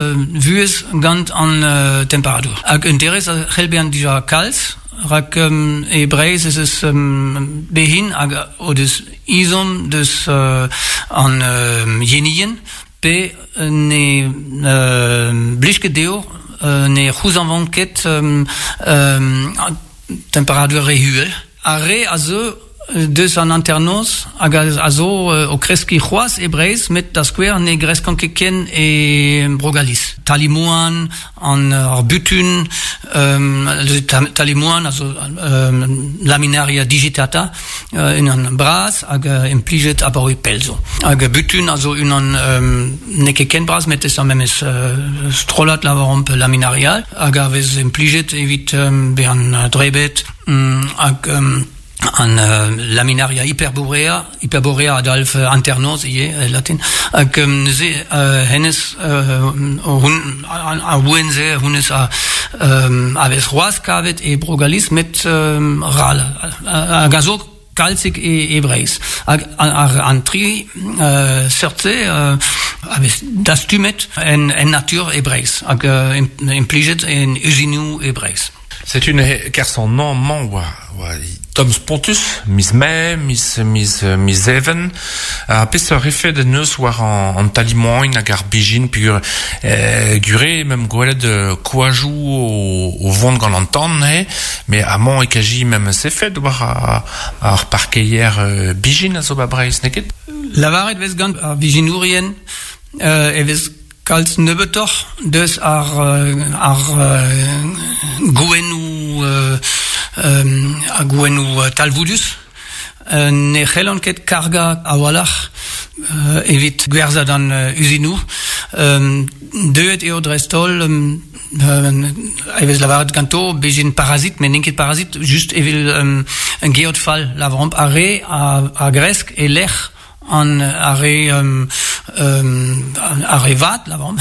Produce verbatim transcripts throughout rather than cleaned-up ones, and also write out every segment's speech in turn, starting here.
Vuhez gant an uh, temperadur. Hag un derez a c'hell bezañ dija kalz, rak um, e Breizh ez eus um, behin hag o deus izom deus uh, an uh, yenien pe ne uh, blij ket dezho, uh, ne c'houzañvont ket um, um, temperadur re uhel. Ar re a zeu deus an hanternoz hag a zo o kreskiñ c'hoazh e Breizh, met da skouer ne greskont ket ken e Bro-Galis. Talimoan, an ar butun, um, talimoan a zo um, Laminaria digitata, uh, unan bras hag uh, implijet abaoe pell zo. Hag butun a zo unan um, n'eo ket ken bras, met ez ar memes uh, strollad lavaromp laminaria, hag a vez implijet evit um, bezañ drebet, um, hag um, an uh, Laminaria hyperborea, hyperborea a dalv hanternoz ivez e latin, hag um, neuze uh, hennezh uh, hun, ar ouenn-se honnezh a, um, a vez c'hoazh kavet e Bro-Galis met um, ral hag a zo kalzik e, e Breizh. Hag ar, an tri uh, seurt-se uh, a vez dastumet en, en natur e Breizh hag uh, implijet en uzinoù e Breizh. Setu neuze kerzh an hañv-mañ oa, oa tomm spontus, miz Mae, miz, miz, miz Even. Ha peseurt efed en deus war an, an talimoan hag ar bijin peogwir eh, gure mem gwelet koajoù o, o vont gant an tan he, met amañ e kaji memes efed war ar, ar parkeier euh, bijin a zo ba Breizh, n'eo ket? Lavaret vez gant ar vijinourien euh, e vez kalz nebeutoc'h deus ar, ar gouennoù ar gouennoù talvoudus. Ne c'hellont ket kargañ a-walc'h evit gwerzhañ d'an uzinoù. Deuet eo dreist-holl e vez lavaret ganto bezhin parazit, met n'int ket parazit, just evel un geot fall lavaromp ar re a, a gresk e lec'h an ar re um, um, ar re vat lavaromp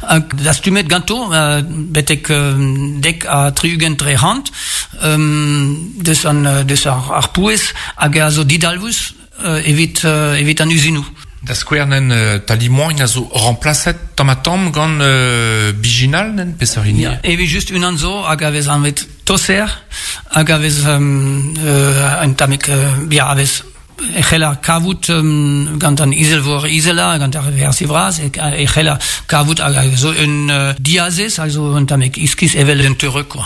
hag dastumet ganto uh, betek um, dek ha tri-ugent dre c'hant um, deus an deus ar, ar pouez hag a zo didalvous uh, evit uh, evit an uzinoù. Da skouer nen uh, talimoan a zo remplaset tamm ha tamm gant uh, bijinal nen peseurt hini? Ja, evit just unan zo hag a vez anvet toser hag a vez um, uh, un tammig uh, ya a vez e c'heller kavout um, gant an izelvor izelañ gant ar versi vras e, e c'heller kavout hag a zo un uh, diazez a zo un tammig iskis evel un teureug quoi.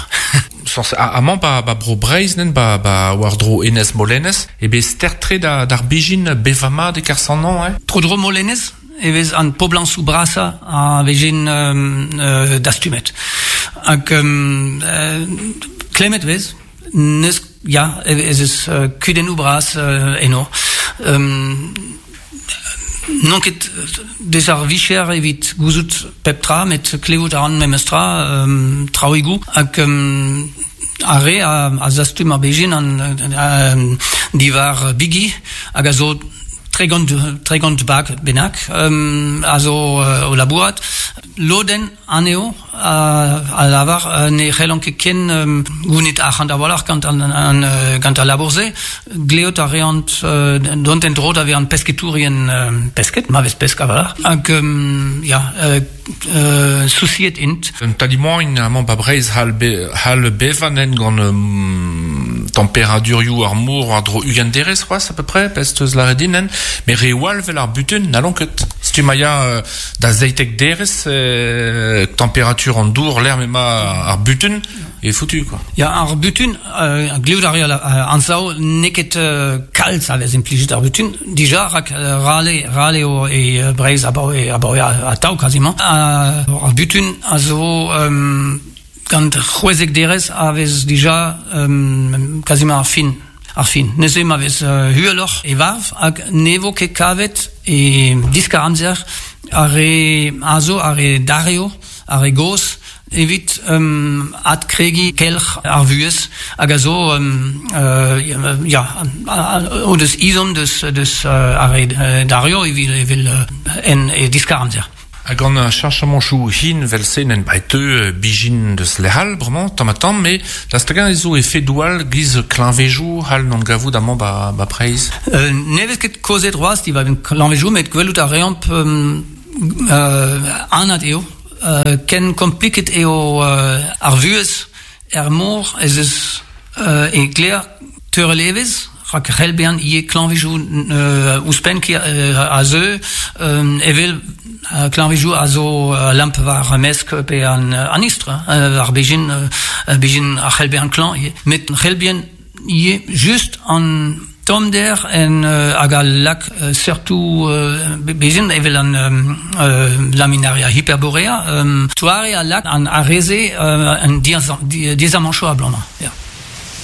Sens amañ ba, ba bro Breizh nen ba, ba war-dro Enez Molenez e bet stert-tre da, d'ar bijin bevañ mat e-kerzh an hañv, eh? Tro-dro Molenez e vez an poblañsoù brasañ a vezin um, uh, dastumet. Hag um, uh, klemmet vez, neus ya, ez eus uh, kudennoù bras uh, eno. Um, n'on ket deus ar vicher evit gouzout pep tra, met klevout a ran memes tra, um, traoùigoù, hag um, ar re a, a zastum ar bezhin an, um, diwar bigi, hag a zo tregont, tregont bag bennak, um, a zo uh, o labourat. Lodenn anezho a, a lavar uh, ne c'hellont ket ken um, gounit arc'hant a-walc'h gant an, an, uh, gant al labour-se. Gleout a reont uh, dont en-dro da vezañ pesketourien uh, pesked, ma vez pesk a-walc'h. Hag, um, ya, uh, uh, sousiet int. Un talimoan amañ ba Breizh c'hall be, c'hall bevañ nen gant um, temperadurioù ar mor war-dro ugent derez c'hoazh à peu près, pezh teus lâret din nen, met reoù all 'vel ar butun n'hallont ket. Setu ma ya euh, da seitek derez euh, temperatur an dour lec'h m'emañ ar butun e foutu quoi. Ya, ar butun, euh, gleout a reer uh, anzav n'eo ket uh, kalz a vez implijet ar butun, dija rak uh, rale, rale eo e uh, Breizh abaoe, abaoe atav quasiment. Uh, ar butun a zo um, gant c'hwezek derez a vez dija um, quasiment ar fin. Ar fin. Neuze ma vez uh, uheloc'h e varv hag ne vo ket kavet e diskar amzer ar re a zo, ar re dario, ar re gozh, evit um, adkregiñ kelc'h ar vuhez hag a zo um, uh, ya, o deus izom deus, deus uh, ar re dario evit, evit uh, en e diskar amzer. Hag gant ar cheñchamantoù hin 'vel-se nen ba e teu bijin deus lec'h all bremañ tamm ha tamm, met daoust hag-eñ ez zo efedoù all giz kleñvedoù c'hall n'on gavout amañ ba, ba Breizh. Euh, ne vez ket kaozeet c'hoazh diwar-benn kleñvedoù, met gwelout a reomp um, uh, anat eo euh, ken kompliket eo euh, ar vuez er mor ez eus euh, e kler teurelevez rak c'hell bezañ ivez klañvejou euh, ouzhpenn ki euh, a zeu euh, evel euh, klañvejou a zo euh, lamp war mesk pe an, an istr, euh, ar bejin, euh, bejin a c'hell bezañ klañv ivez. Met c'hell bezañ ivez just an tommder en euh, hag al lak euh, surtout euh, bezin evel an euh, laminaria hyperborea euh, toare a lak an areze euh, an diazamancho a blamañ. Ya.